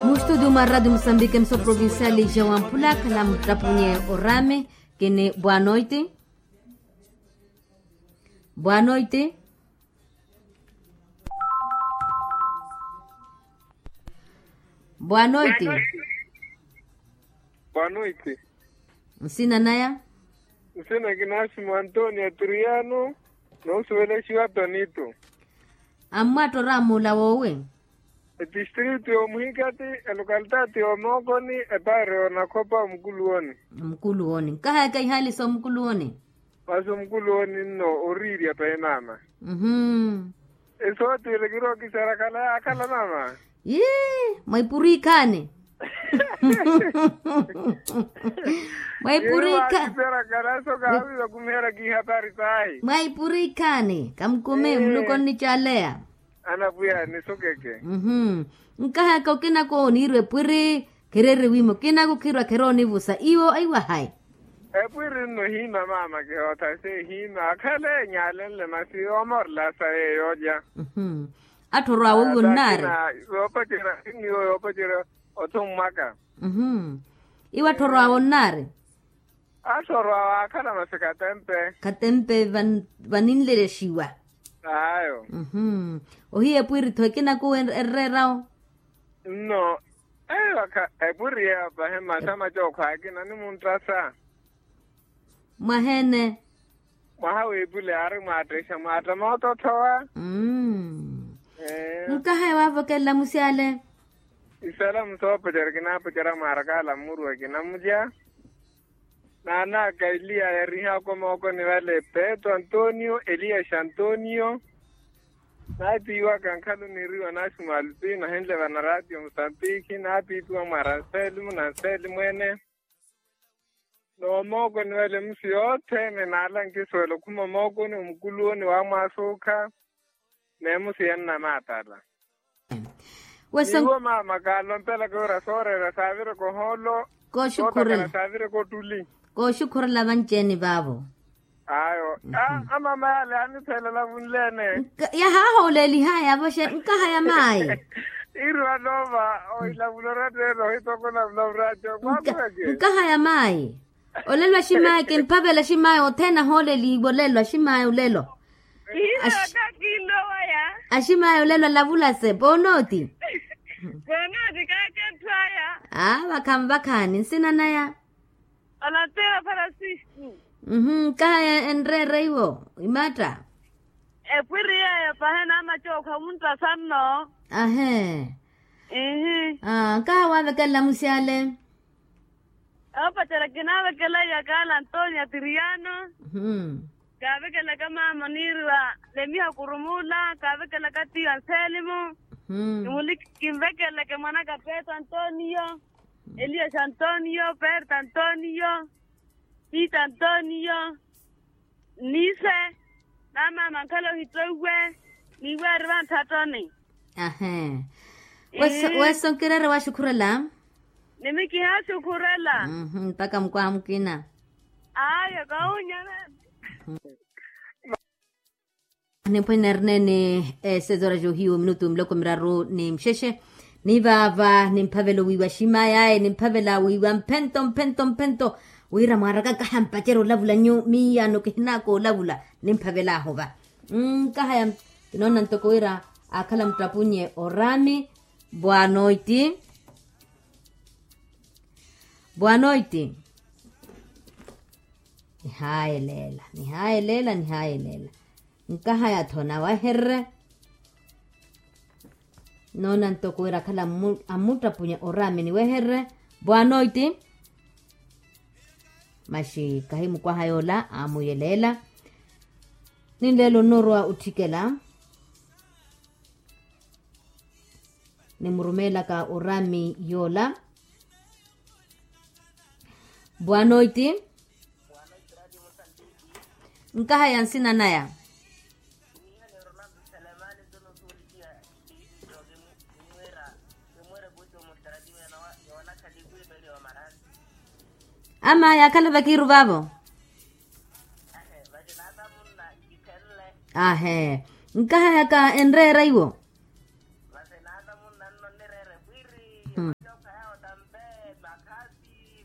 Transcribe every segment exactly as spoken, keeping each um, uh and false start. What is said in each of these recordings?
Mu studio mwa radio musambike mso provincial ja wamphula khala mutapunye orame. Kini bwanoiti. Bwanoiti. Bwanoiti. Bwanoiti. Nsina naya? Nsina kinaximo antonio atriano. Noosuvelexiwa tonito. Ammwattora mula wowi? Etistritu y'omuhikati, elokalitati y'omookoni, epaari y'onakhopa omukuluwoni. Omukuluwoni nkahayaka ihaali s'omukuluwoni. Masi omukuluwoni nno oriirya pahi mama. Esootiile kirookiseera khala yaakhala mama. Yii, mwaipuriikhaani. Mwaipuriikhaani. Mwaipuriikhaani kamukume muluko nnicaleya. Anapwiya nisukeke. Nkahaka okinako oniirwa epwiri. Khereeriwimo kinako khirwa kheroonivusa iwo aiwahayi. Epwiri nno hiima mama kihootha se hiima akhale enyalenle masi omoorela sa yeyo olya. Atthorwaawe iwo nnaari. Yoopacerya sinniwo yoopacerya othummwaka. Iwo atthorwaawe nnaari. Atthorwaawe akhala masi khatempe. Khatempe vaninlelexiwa. Ayo. Ohiya epwiri-tho ekinaku enreerawo. Nno. Eyo akha epwiri yeyo pahi masi amacookho akina nimunttasa. Mwaheene? Mwaha w'epule yaari mwaatteixa mwaatta moototthowa. Nkahaya waavokelela musyale. Isalamu soopocerya kinaapocerya mwaarakaala mmuruwa kinamulya. Naanaka eliya yarihaku mookoni vale petro antonio eliya xantonio. Naatiiwaka nkhalu niiriwa naxi mwalupina henle vanaraatiyo musapikhi naapiipiwa mwa ranselimu nanselimu ene. N'omookoni wale musi yothene naala nkisuwela okhuma omookoni omukuluwoni waamwaasuukha. Neemusi yannamaatala. Niwo mama kaalompelaka wira sooreera saavireka ohoolo. Kooxukhurela. Kooxukhurela vanci-ene vaavo. Ayo. Amama yale yaanitheelela vunleene. Yahaahoolelihaya yavoxe nkaha ya maayi. Iiri wanoova ohilavula oratteela ohitokona vula vuraco. Nkaha ya maayi. Olelo aximaayi kimphavela aximaayi othene ahooleliwe olelo aximaayi olelo. Aximaayi olelo alavulase poonoti. Poonoti kaaketthwaya. Aa vakhanvakhaani nsina naya? Olatteela francisco. Nkahaya enreera iwo imatta. Epwiri yeeyo pahi naamacookha omunttasa nno. Ahe. Nkaha waavekelela musyale? Oopacerya kinaavekela iyakaala antonia tiriano. Kaavekelaka maama oniiriwa lemiha kurumula kaavekelaka tiyo anselimu. Kimuliki kinvekeleke mwanaka petro antonio, elias antonio, perto antonio, pita antonio. Nise. Namaama nkhala ohittoiwe. Niiwe ari vanthattoni. Ahe. Weso nkireere waxukhurela. Nimi kihaaxukhurela. Mpakha mukwaha mukina. Ayo kawunyana. Nimphwene erneene. Sezora johiyo minutu miloko miraru ni mxexe. Nivaava nimphavela owiiwa aximaayi aye nimphavela wiiwa mphento mphento mphento. Wira mwaaraka nkaha mpacerya olavula nyu miiyano kihinaaka olavula. Nimphavelaahu va. Nkahaya kinoona ntoko wira aakhala muttapunye oraami. Bwanoiti. Bwanoiti. Nihaayelela nihaayelela nihaayelela. Nkahaya-tho nawehererye. Noona ntoko wira akhala ammuttapunya oraami niwehererye. Bwanoiti. Maxi kahi mukwaha yoola aamuyeleela. Ninleelo nnoorowa otthikela. Nimurumeelaka oraami yoola. Bwanoiti. Nkahaya nsina naya? Ama yaakhala vakiiru vaavo. Ahe. Nkahayaka enreera iwo.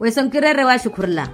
Weso nkireere waxukhurela.